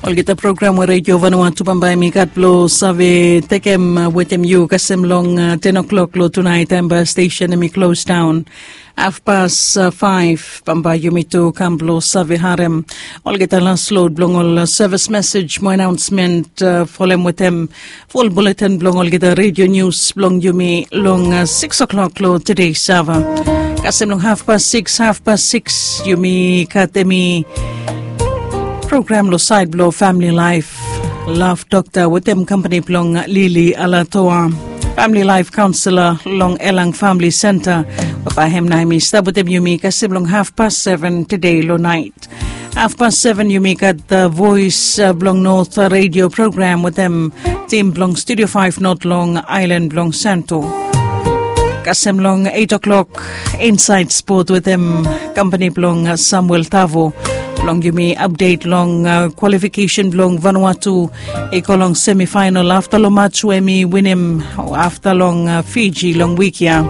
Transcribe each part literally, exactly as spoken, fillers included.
Olgeta program we redio vanua tu bambae mi gat blong save tekem wetem yu kasem long ten o'clock long tunait taem bae stesen em i klos daun. Hafpas faef bambae yumi tu kam blong save harem olgeta las lod blong ol sevis mesej mo anaonsmen folem wetem ful buleten blong olgeta redio nius blong yumi long siks o'clock long tede sava. Kasem long hafpas siks hafpas siks yumi gat em i program long saed blong famili laef. Laf dokta wetem kampani blong lili alatoa, famili laef kaunsela long elang famili senta. Babae hem na em i stap wetem yumi kasem long hafpas seven tede long naet. Hafpas seven yumi gat voes blong not redio program wetem tim blong studio faef not long aelan blong santo. Kasem long et o'clock insaed spot wetem kampani blong samuel tavo blong yumi apdet long kwalifikesen blong vanua tu i go long semifaenal afta long mats we em i winim afta long fiji long wik ya.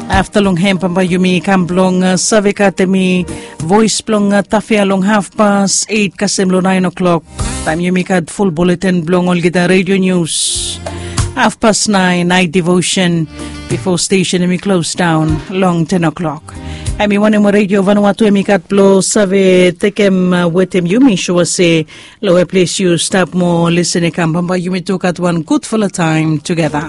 Afta long hem bambae yumi kam blong save gat em i voes blong tafia long hafpas et kasem long naen o'clock taem yumi gat ful buleten blong olgeta redio nius. Hafpas naen naet devosen bifo stesen em i klos daun long ten o'clock. Em i wanem we redio vanua tu em i gat blong save tekem wetem yumi sua se long we ples yu stap mo lisen i kam bambae yumi tu gat wan gudfala taem tugeta.